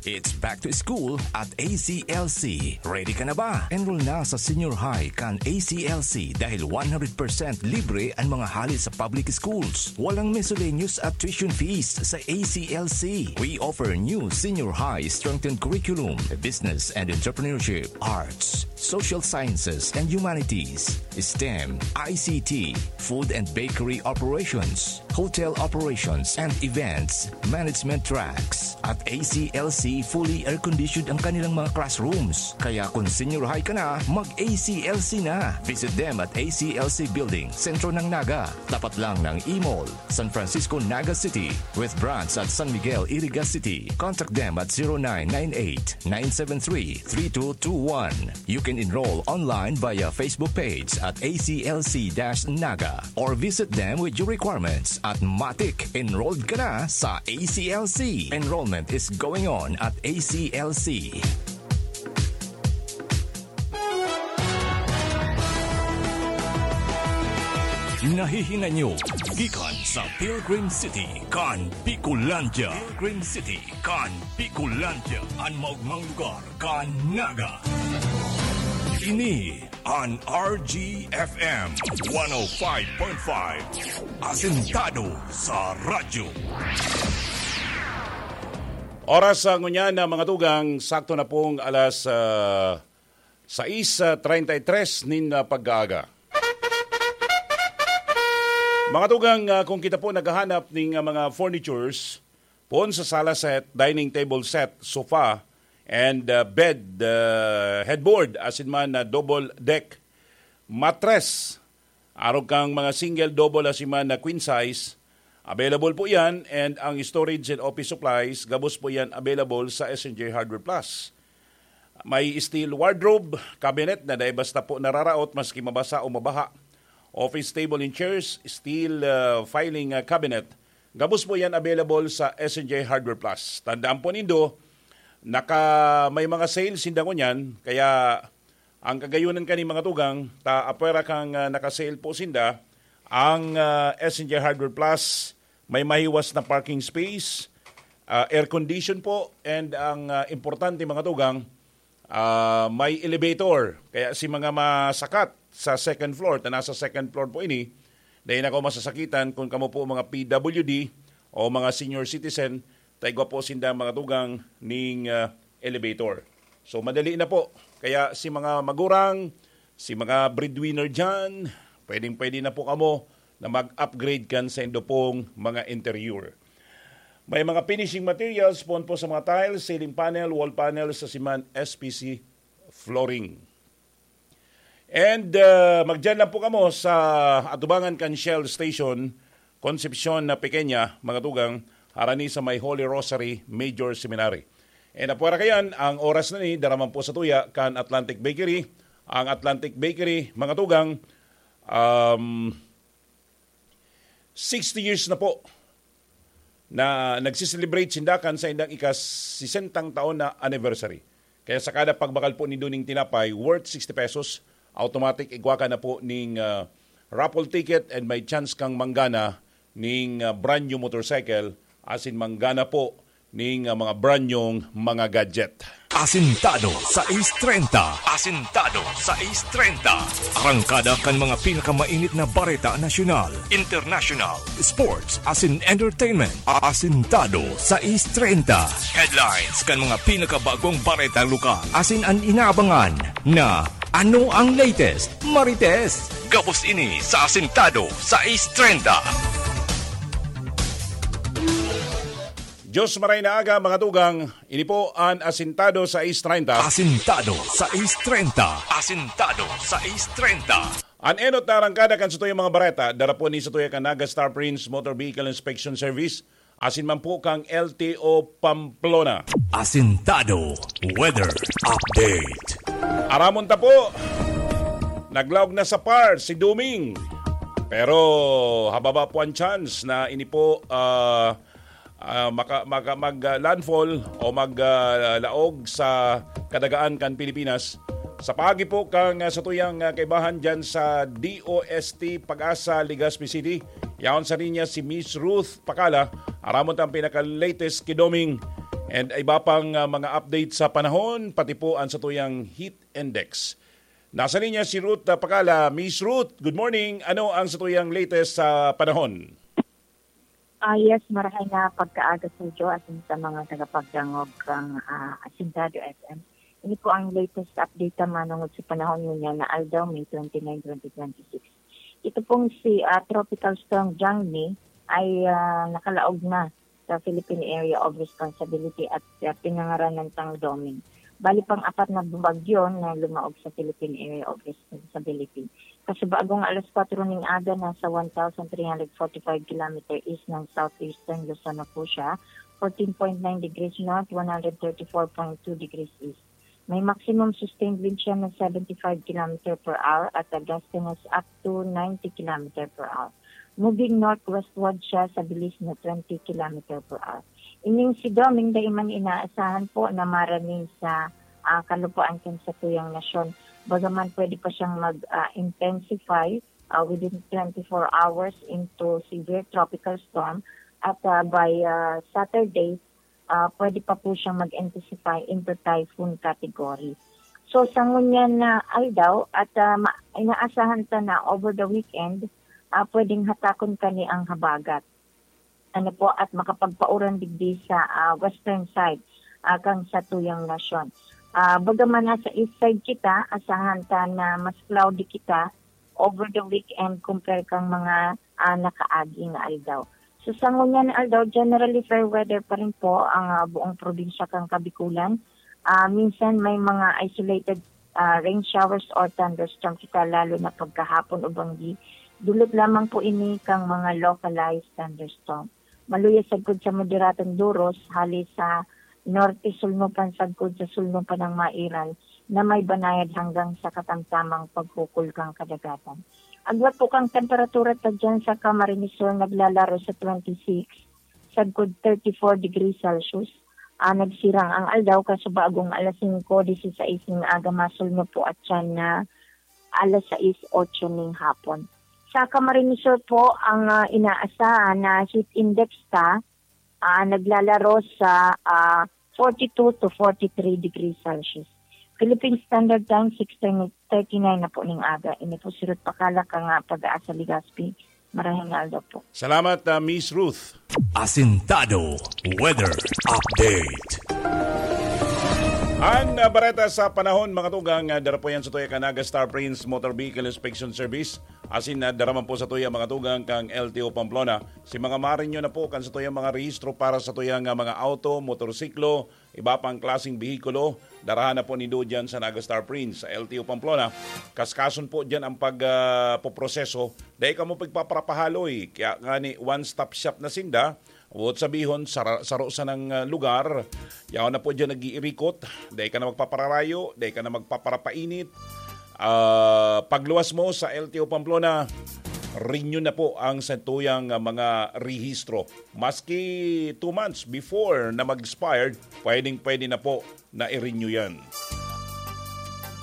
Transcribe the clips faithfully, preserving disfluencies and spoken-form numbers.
It's back to school at A C L C. Ready ka na ba? Enroll na sa senior high kan A C L C dahil one hundred percent libre ang mga hali sa public schools. Walang miscellaneous at tuition fees sa A C L C. We offer new senior high strengthened curriculum, business and entrepreneurship, arts, social sciences and humanities, STEM, I C T, food and bakery operations, hotel operations and events management tracks. At A C L C, fully air-conditioned ang kanilang mga classrooms. Kaya kung senior high ka na, mag-A C L C na. Visit them at A C L C Building, sentro ng Naga. Tapat lang ng E-Mall, San Francisco, Naga City, with branch at San Miguel, Iriga City. Contact them at zero nine nine eight, nine seven three, three two two one. You can enroll online via Facebook page at A C L C dash Naga or visit them with your requirements at Matik. Enrolled ka na sa A C L C. Enrollment is going on at A C L C. Nahihinay nyo gikan sa Pilgrim City kan Bicolandia. Pilgrim City kan Bicolandia, an maogmang lugar kan Naga. Ini an R G F M one oh five point five, asentado sa radyo. Oras sa ngunyan na mga tugang, sakto na pong alas, ah, sais treinta y tres nin, ah, pag-aaga. Mga tugang, ah, kung kita po naghahanap ning, ah, mga furnitures, poon sa sala set, dining table set, sofa, and, ah, bed, ah, headboard, asin man na double deck mattress, arog kang mga single, double, asin man na queen size, available po yan, and ang storage and office supplies, gabos po yan available sa S N J Hardware Plus. May steel wardrobe, cabinet na dai basta po nararaot maski mabasa o mabaha. Office table and chairs, steel, ah, filing, ah, cabinet. Gabos po yan available sa S N J Hardware Plus. Tandaan po nindo, naka, may mga sales sinda ngunyan, kaya ang kagayunan kani mga tugang, ta apwera kang, ah, naka-sale po sinda, ang, ah, S N J Hardware Plus, may mahiwas na parking space, ah, air condition po, and ang, ah, importante mga tugang, ah, may elevator. Kaya si mga masakat sa second floor, ta nasa second floor po ini, dai na kayo masasakitan kung kamo po mga P W D o mga senior citizen, ta igwa po sinda mga tugang ning, ah, elevator. So, madali na po. Kaya si mga magurang, si mga breadwinner dyan, pwedeng-pwede na po kamo na mag-upgrade kan sa indo pong mga interior. May mga finishing materials poon po sa mga tiles, ceiling panel, wall panels, asin man S P C flooring. And, uh, magdiyan lang po kamo sa atubangan kan Shell Station, Concepcion na Pequeña, mga tugang, harani sa may Holy Rosary Major Seminary. And apwera kayan, ang oras na ni, daraman po sa tuya kan Atlantic Bakery. Ang Atlantic Bakery, mga tugang, um, sixty years na po na nagsiselebrate sinda kan saindang ika-sesentang taon na anniversary. Kaya sa kada pagbakal po nindo ning tinapay worth sixty pesos, automatic igwa ka na po ning, ah, raffle ticket and may chance kang manggana ning, ah, brand new motorcycle, asin manggana po ning, ah, mga brand nyong mga gadget. Asintado sais treinta. Asintado sais treinta. Arangkada kan mga pinakamainit na bareta nasyonal, international, sports, asin entertainment. Asintado sais treinta. Headlines kan mga pinakabagong bareta lokal. Asin an inaabangan na ano ang latest, Marites. Gabos ini sa Asintado sais treinta. Diyos maray na aga, mga tugang. Ini po an Asintado sais treinta. Asintado sais treinta. Asintado sais treinta. An enot na arangkada kan satuyang mga bareta, dara po ni satuya kan Naga Star Prince Motor Vehicle Inspection Service, asin man po kang L T O Pamplona. Asintado Weather Update. Aramon ta po, naglaog na sa par si Duming. Pero hababa po ang chance na ini po, ah, ah, maka-, maka-, mag, ah, landfall o mag, ah, laog sa kadagaan kan Pilipinas. Sa paagi po kan, ah, satuyang, ah, kaibahan dyan sa D O S T Pag-asa, Legazpi City, yaon sa linya si Miss Ruth Pakala, aramon ta ang pinaka-latest ki Doming. And iba pang, ah, mga update sa panahon, pati po ang satuyang heat index. Nasa linya si Ruth, ah, Pakala. Miss Ruth, good morning. Ano ang satuyang latest sa panahon? Ah, yes, marahay na pagkaaga sa iyo asin sa mga tagapagdangog kang, ah, Asintado F M. Ini po ang latest update na manungod sa panahon ngunyan na aldaw, May twenty-nine, twenty twenty-six. Ito pong si, ah, Tropical Storm Jangmi ay, ah, nakalaog na sa Philippine Area of Responsibility at, ah, pinangaranan tang Doming. Bali pang apat na bagyo na lumaog sa Philippine Area of Responsibility. Kasubagong alas kwatro ning aga, nasa one thousand three hundred forty-five kilometer east ng southeastern Luzon na po siya, fourteen point nine degrees north, one hundred thirty-four point two degrees east. May maximum sustained wind siya na seventy-five kilometer per hour at a gustiness up to ninety kilometer per hour. Moving northwestward siya sa bilis na twenty kilometer per hour. Ining si Doming dai man inaasahan po na maraning sa, ah, kalupaan kan satuyang nasyon. Bagaman pwede pa siyang mag, ah, intensify, ah, within twenty-four hours into severe tropical storm at, ah, by, ah, Saturday, ah, pwede pa po siyang mag-intensify into typhoon category. So, sa ngunyan na aldaw at, ah, ma-, inaasahan ta na over the weekend, ah, pwedeng hatakon kani ang habagat. Ano po, at makapagpauran digdi sa, ah, western side, ah, kan satuyang nasyon. Ah, bagaman nasa east side kita, asahan ta na mas cloudy kita over the weekend compare kang mga, ah, nakaagi nga aldaw. So, sa ngunyan na aldaw, generally fair weather pa rin po ang, ah, buong probinsya kang Kabikulan. Ah, minsan may mga isolated, ah, rain showers or thunderstorm kita, lalo na pagkahapon o banggi. Dulot lamang po ini kang mga localized thunderstorm. Maluya sagkod sa moderadong duros, hali sa norte sulnupan sagkod sa sulnupan ng Mairal na may banayad hanggang sa katamtamang pagkukul kang kadagatan. Agwat po kang temperatura ta dyan sa Camarines Sur, naglalaro sa twenty-six, sagkod thirty-four degrees Celsius. Ah, nagsirang ang aldaw, kasubagong alas singko disisais ning aga, masulno po at yan na alas sais, otso ning hapon. Sa Camarines Sur po, ang, ah, inaasahan na heat index ta, ah, naglalaro sa, ah, forty-two to forty-three degrees Celsius. Philippine Standard Time, six thirty-nine na po ning aga. Ini po si Ruth Pakala kang Pag-asa, Legazpi. Marahing aldaw po. Salamat, ah, Miss Ruth. Asintado Weather Update. Ang, ah, bareta sa panahon, mga tugang, ah, dara po yan sa tuya kan Naga Star Prince Motor Vehicle Inspection Service. Asin, ah, dara man po sa tuya, mga tugang, kang L T O Pamplona. Si mga marinyo na po kan sa tuya mga rehistro para sa tuya nga mga auto, motorsiklo, iba pang klaseng behikulo, darahan na po nindo dyan sa Naga Star Prince, sa L T O Pamplona. Kaskason po dyan ang pag, ah, poproseso. Dai kamo pagpaparapahaloy. Kaya nga ni one-stop shop na sinda, buot sabihon, sara-, saro sa nang, ah, lugar, yaon na po dyan nag-iirikot. Dai ka na magpapararayo, dai ka na magpaparapainit. Ah, pagluwas mo sa L T O Pamplona, renew na po ang satuyang, ah, mga rehistro. Maski two months before na mag-expired, pwedeng-pwede na po na i-renew yan.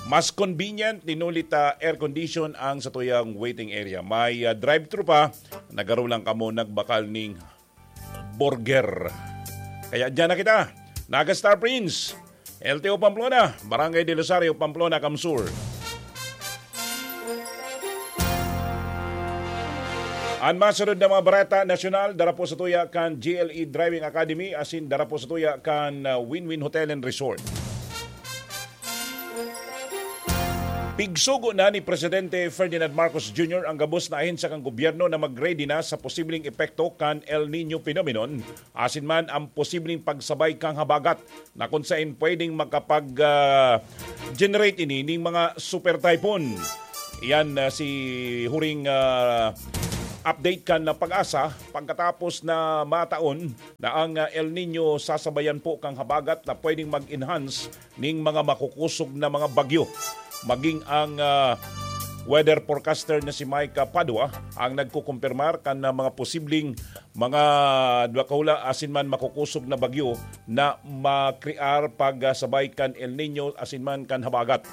Mas convenient, tinulit, ah, air condition ang satuyang waiting area. May, ah, drive-thru pa, nagaro lang kamo nagbakal ning burger. Kaya dyan na kita, Naga Star Prince, L T O Pamplona, Barangay del Rosario, Pamplona, Kamsur. An masunod na mga bareta nasyonal, dara po sa tuya kan G L E Driving Academy, asin dara po sa tuya kan, ah, Win-Win Hotel and Resort. Pigsugo na ni Presidente Ferdinand Marcos Junior ang gabos na ahensya kan gobyerno na mag-ready na sa posibleng epekto kan El Niño phenomenon, asin man ang posibleng pagsabay kan habagat na kun saen pwedeng makapag, ah, generate ini ning mga super typhoon. Iyan, ah, si huring, ah, update kan na Pag-asa pagkatapos na mataon na ang, ah, El Niño sasabayan po kan habagat na pwedeng mag-enhance ning mga makukusog na mga bagyo. Maging ang, ah, weather forecaster na si Mike Padua ang nagkukumpirmar kan, ah, mga posibleng mga dwa kahula asin man makukusog na bagyo na makrear pag, ah, sabay kan El Niño asin man kan habagat.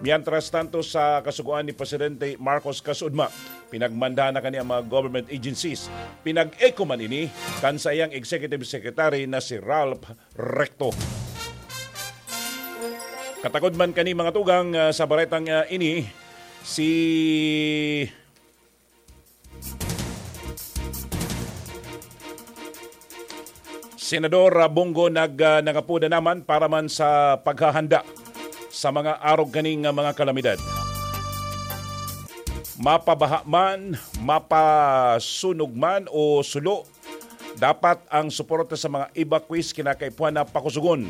Mientras tanto, sa kasugoan ni Presidente Marcos Kasudma, Pinagmandahan na kani ang mga government agencies. Pinag-echo man ini kan saiyang executive secretary na si Ralph Recto. Katagod man kani, mga tugang, ah, sa baretang, ah, ini, si Senador, ah, Bong Go nag, ah, nangapoda naman para man sa paghahanda sa mga arog kaning, ah, mga kalamidad. Mapabaha man, mapasunog man o sulo, dapat ang suporta sa mga evacuees kinakaipuhan na pakusugon.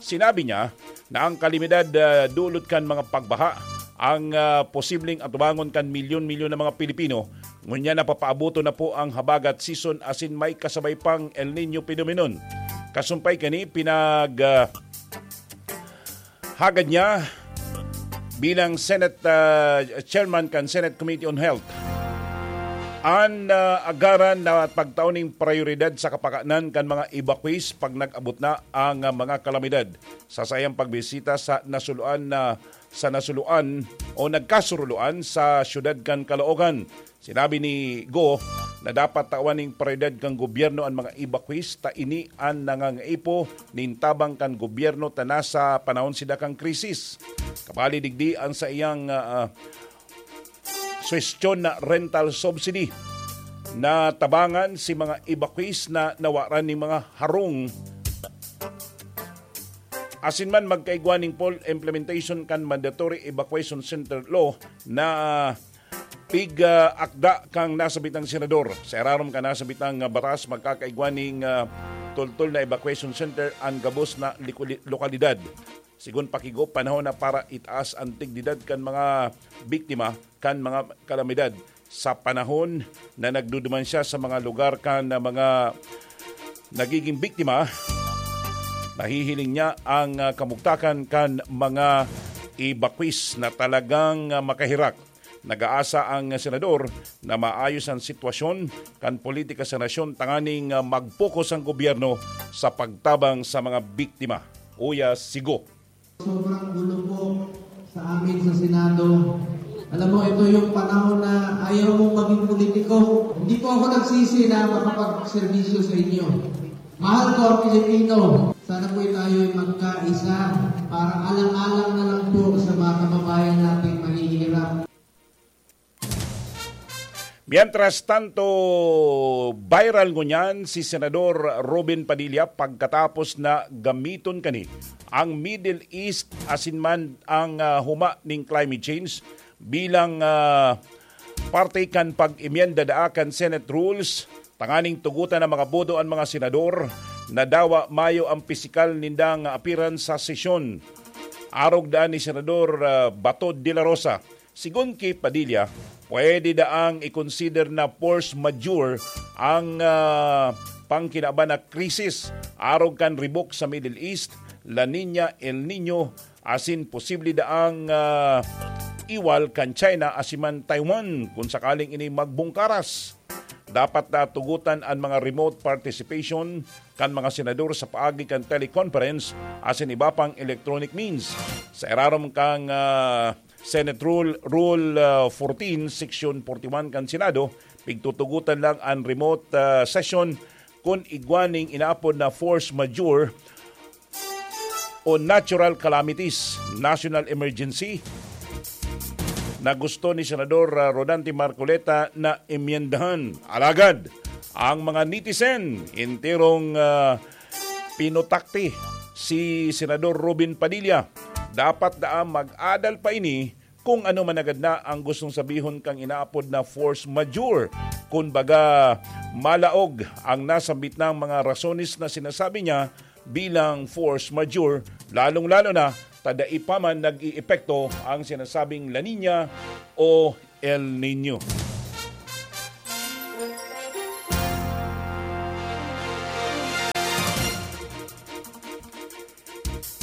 Sinabi niya na ang kalamidad, ah, dulot kan mga pagbaha ang, ah, posibleng atubangon kan milyon-milyon na mga Pilipino. Ngunyan, napapaaboton na po ang habagat season asin may kasabay pang El Nino phenomenon. Kasumpay kani, pinag, ah, hagad niya bilang Senate, ah, Chairman kan Senate Committee on Health, an, ah, agaran na pagtao ning prioridad sa kapakanan kan mga evacuees pag nag-abot na ang, ah, mga kalamidad. Sa saiyang pagbisita sa nasuluan na, sa nasuluan o nagkasuruloan sa siyudad kan Caloocan, sinabi ni Go na dapat tawan ning prioridad kan gobyerno an mga evacuees, ta ini an nangangaipo nin tabang kan gobyerno ta nasa panahon sinda kan krisis. Kabali digdi an saiyang, ah, ah, suwestyon na rental subsidy na tabangan si mga evacuees na nawaran nin mga harong. Asin man, magkaigwa ning full implementation kan Mandatory Evacuation Center Law na pig-akda kang nasabitang senador. Sa irarom kan nasabitang, ah, batas, magkakaigwa ning, ah, tultol na evacuation center an gabos na likuli-, lokalidad. Sigon pa ki Go, panahon na para itaas an dignidad kan mga biktima kan mga kalamidad sa panahon na nagduduman siya sa mga lugar kan mga nagiging biktima. Nahihiling niya ang, ah, kamugtakan kan mga evacuees na talagang, ah, makaherak. Nag-aasa ang senador na maayos ang sitwasyon kan politika sa nasyon tanganing, ah, mag-focus ang gobyerno sa pagtabang sa mga biktima. Uya si Go. Sobrang gulo po sa amin sa Senado. Alam mo, ito yung panahon na ayaw mong maging politiko. Hindi po ako nagsisi na makapagserbisyo sa inyo. Mahal ko ang Pilipino. Sana po tayo ay magkaisa para alang-alang na lang po sa mga kababayan nating mahihirap. Mientras tanto, viral ngunyan si Senador Robin Padilla pagkatapos na gamiton kani ang Middle East asin man ang, ah, huma ning climate change bilang, ah, parte kan pag-emyenda daa kan Senate rules tanganing tugutan na makaboto an mga senador na dawa mayo ang pisikal nindang appearance sa sesyon. Arog daan ni Senador, ah, Bato de la Rosa. Sigon ki Padilla, pwede daang i-consider na force majeure ang, ah, pangkinaban na krisis arog kan ribok sa Middle East, La Niña, El Niño, asin posible daang, ah, iwal kan China asin man Taiwan kun sakaling ini magbungkaras. Dapat na tugutan an mga remote participation kan mga senador sa paagi kan teleconference asin iba pang electronic means. Sa irarom kan, ah, Senate Rule, Rule, ah, fourteen, Section forty-one kan Senado, pigtutugotan lang an remote, ah, session kun igwa ning inaapod na force majeure o natural calamities, national emergency, na gusto ni Senador, ah, Rodante Marcoleta na emyendahan. Alagad, ang mga netizen, enterong, ah, pinutakti si Senador Robin Padilla. Dapat daa mag-adal pa ini kung ano man agad na ang gustong sabihon kang inaapod na force majeure. Kun baga, malaog ang nasambit na mga rasones na sinasabi niya bilang force majeure, lalong-lalo na ta dai pa man nag-iepekto ang sinasabing La Niña o El Niño.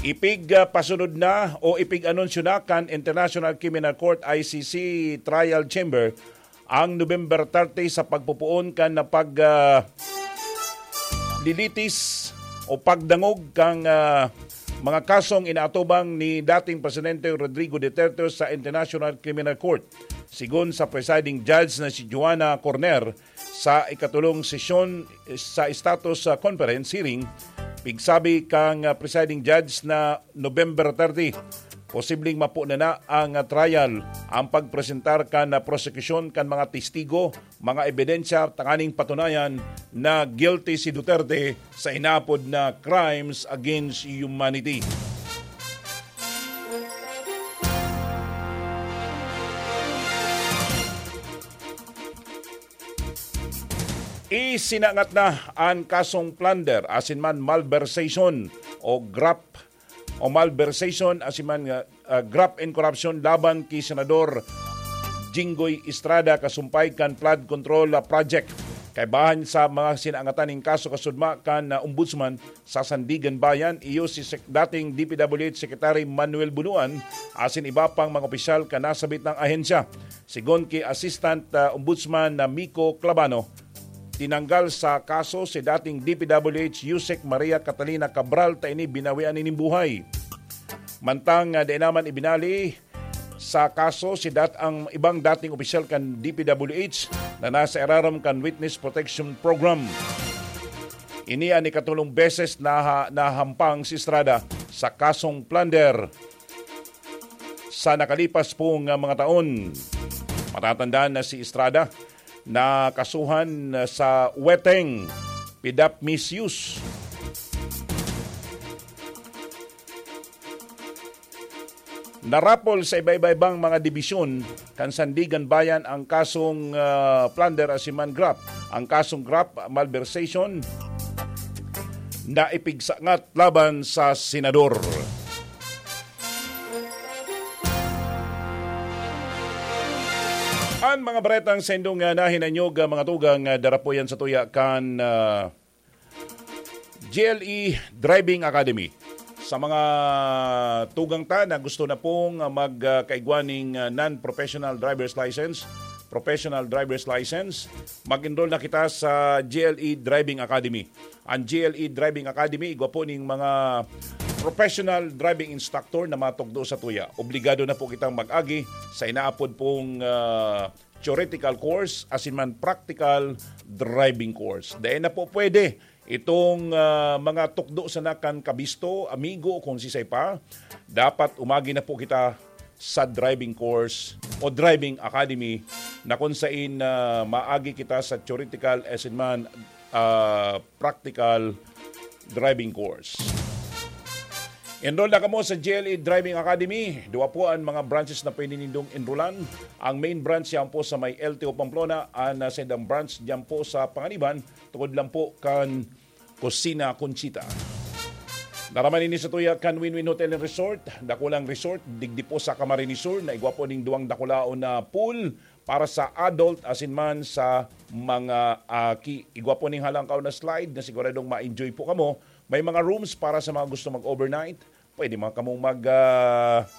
Ipig, ah, pasunod na o ipig-anunsyo na kan International Criminal Court, I C C, Trial Chamber ang November thirty sa pagpopoon kan na pag, ah, lilitis o pagdangog kan, ah, mga kasong inaatubang ni dating Presidente Rodrigo Duterte sa International Criminal Court. Sigon sa presiding judge na si Joanna Corner, sa ikatulong sesyon sa status, ah, conference hearing, pigsabi kang, ah, presiding judge na November thirty, posibleng mapo na na ang, ah, trial, ang pagpresentar kan, ah, prosekusyon kan mga testigo, mga ebidensya tanganing patunayan na guilty si Duterte sa inaapod na crimes against humanity. Isinangat na an kasong plunder asin man malversation o graft o malversation asin man, ah, ah, graft and corruption laban ki Senador Jinggoy Estrada kasumpay kan flood control, ah, project. Kaibahan sa mga sinangatan nin kaso kasudma kan, ah, Ombudsman sa Sandigan Bayan, iyo si Sec-, dating D P W H Secretary Manuel Bunuan asin iba pang mga opisyal kan nasabit na ahensya. Sigon ki Assistant, ah, Ombudsman na Mico Clavano, tinanggal sa kaso si dating D P W H Usec Maria Catalina Cabral ta ini binawian nin buhay. Mantang, ah, dai naman ibinali sa kaso si dat-, ang ibang dating opisyal kan D P W H na nasa irarom kan Witness Protection Program. Ini an ikatulong beses na ha-, nahampang si Estrada sa kasong plunder sa nakalipas pong, ah, mga taon. Matatandaan na si Estrada na kasuhan, ah, sa weteng, PDAP misuse. Narapol sa iba-iba-ibang mga dibisyon kan Sandigan Bayan ang kasong, ah, plunder asin man graft. Ang kasong graft, malversation, na ipigsangat laban sa senador. An mga baretang sa indong, ah, nahinanyog, ah, mga tugang, ah, darapuyan sa tuya kan, ah, G L E Driving Academy. Sa mga tugang ta na gusto na pong, ah, mag, ah, kaigwa ning, ah, non-professional driver's license, professional driver's license, mag-enroll na kita sa G L E Driving Academy. Ang G L E Driving Academy, igwa po ning mga professional driving instructor na matugdo sa tuya. Obligado na po kitang mag-agi sa inaapod pong, ah, theoretical course, asin man practical driving course. Dai na po pwede itong, ah, mga tukdo sana kan kabisto, amigo o kung sisay pa. Dapat umagi na po kita sa driving course o driving academy na kung sain, ah, maagi kita sa theoretical asin man, ah, practical driving course. Enroll na kamo sa G L E Driving Academy. Duwa po ang mga branches na pwede nindong enrollan. Ang main branch yan po sa may L T O Pamplona. Ang, ah, saindang branch diyan po sa Panganiban, tungod lang po kan Kusina Conchita. Naraman ini sa tuya kan Win-Win Hotel and Resort. Dakulang resort, digdi po sa Camarines Sur, na igwa po ning duwang dakulaon na pool para sa adult asin man sa mga aki. Igwa po ning halangkaw na slide na siguradong ma-enjoy po kamo. May mga rooms para sa mga gusto mag-overnight. Pwede man kamong mag, ah,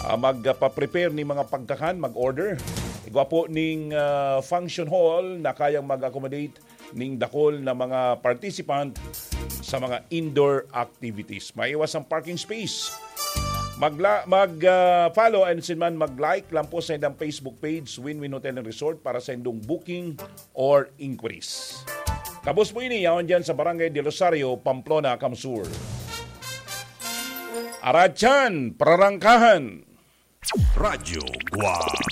ah, magpa-prepare ning mga pagkakan, mag-order. Igwa po ning, ah, function hall na kayang mag-accommodate ning dakul na mga participant sa mga indoor activities. Maiwas ang parking space. Magla-, mag, ah, follow and sin man mag-like lang po sa indang Facebook page, Win-Win Hotel and Resort, para sa indong booking or inquiries. Kabos po ini, yaon dyan sa Barangay del Rosario, Pamplona, Camsur. Aratyan, prarangkahan. Radyo Guwang.